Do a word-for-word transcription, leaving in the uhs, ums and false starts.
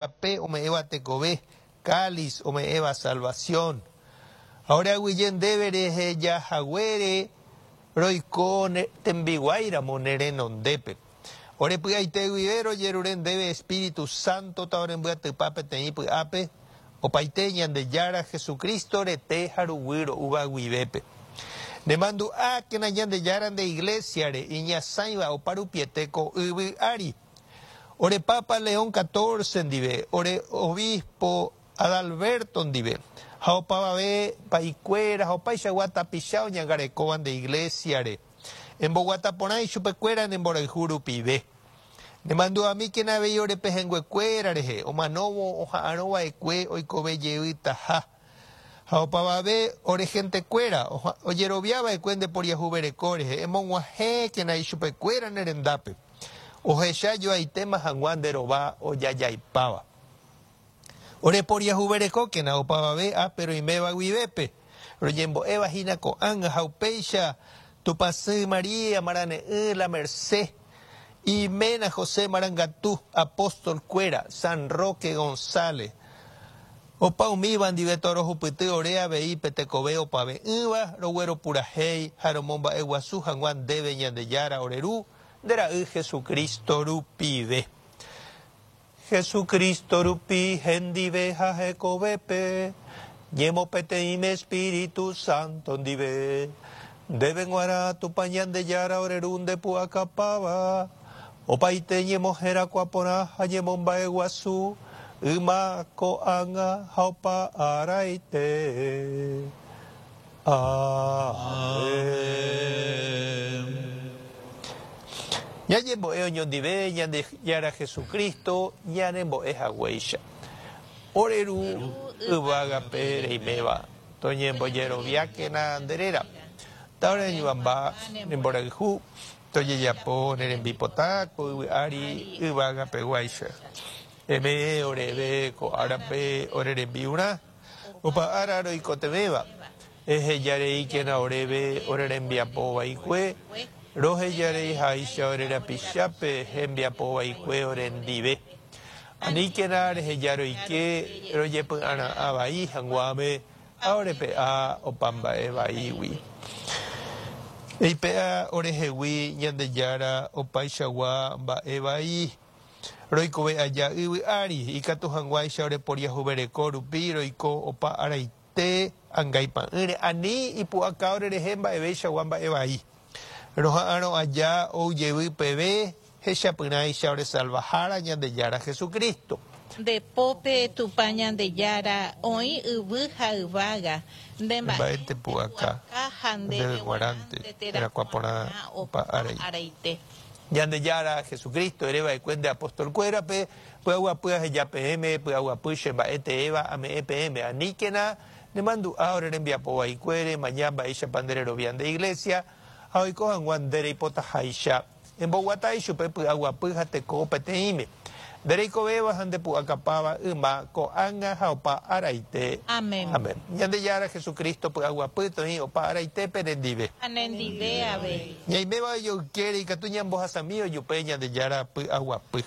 Pe ome'ẽva tekove, cáliz ome'ẽva salvación. Ha oreaguyje ndéve rehejahaguére roiko tembiguáiramo ne renondépe. Ore py'aite guive rojerure ndéve Espíritu Santo taorembyatypa peteĩ py'ápe, opaite Ñandejára Jesucristo rete ha ruguy ro'úva guivépe. Nemandu'ákena Ñandejára nde Iglesiare iñasãiva oparupiete ko yvy ári. Ore Papa León catorce ndive, ore obispo Adalberto ndive, ha opavave pa'ikuéra ha opaichagua tapicha oñangarekóva nde Iglesiare. Emboguata porã ichupekuéra ne mborayhu rupive. Nemandu'amíkena avei ore pehẽnguekuéra rehe, omanóvo oha'arõva'ekue oikove jeytaha. Ha opavave ore gentekuéra ojeroviava'ekue nde poriahuvereko rehe, emog̃uahẽkena ichupekuéra ne rendápe. Ohecha joaitéma hag̃ua nde rova ojajaipáva. Ore poriahuverekókena opavave ápe roiméva guivépe. Roñembo'éva hína ko'ág̃a ha upéicha Tupãsy María Marane'ỹ La Merced, iména José Marangatu, apóstol-kuéra, San Roque González. Opa umíva ndive torohupyty ore avei pe tekove opave'ỹva rogueropurahéi ha romomba'eguasu hag̃ua ndéve Ñandejára ore Ru, nde Ra'y Jesucristo rupive. Jesucristo rupi hendive ha hekovépe, ñemopeteĩme Espíritu Santo ndive. Ndéve g̃uarã Tupã Ñandejára ore Ru ndepu'akapáva, opaite ñemoherakuã porã ha ñemomba'eguasu, yma ko'ág̃a ha opa araite. Amén. Ñañembo'e oñondive Ñandejára Jesucristo ñanembo'e haguéicha. Ore Ru yvágape reiméva, toñembojeroviákena nde réra. Taoreñuamba ne mborayhu, tojejapo ne rembipota ko yvy ári yvágapeguáicha. Eme'ẽ oréve ko árape ore rembi'urã, opa ára roikotevẽva. Ehejareíkena oréve ore rembiapo vaikue, rohejareiháicha ore rapichápe hembiapo vaikue orendive. Aníkena reheja roike rojepy'ara'ã vai hag̃uáme ha orepe'a opa mba'e vaígui. Eipe'a orehegui Ñandejára opaichagua mba'e vai. Roikove aja yvy ári, ikatu hag̃uáicha oreporiahuvereko rupi roiko opa araite angaipa'ỹre, ani ipu'aka orerehe mba'eveichagua mba'e vai. Roha'arõ aja oujevy peve hechapyrãicha oresalvahára Ñandejára Jesucristo. Nde pópe Tupã Ñandejára oĩ yvy ha yvága, nde Mba'ete pu'aka, ha ndéve g̃uarãnte terakuã porã opa araite. araite. Ñandejára Jesucristo ereva'ekue nde apóstol-kuérape, py'aguapy aheja peẽme, py'aguapy che mba'e teéva ame'ẽ peẽme. Aníkena nemandu'a ore rembiapo vaikuére, maña mba'éichapa nde rerovia nde iglesia, ha oiko hag̃ua nde reipotaháicha. Emboguata ichupe py'aguapy ha teko peteĩme. Nde reikovéva ha ndepu'akapáva yma ko'ág̃a ha opa araite. Amén. Amén. Ñandejára Jesucristo py'aguapy toĩ opa araitépe nendive. Ha nendive avei. Ñaiméva ojoykére ikatu ñambohasami ojupe Ñandejára py'aguapy.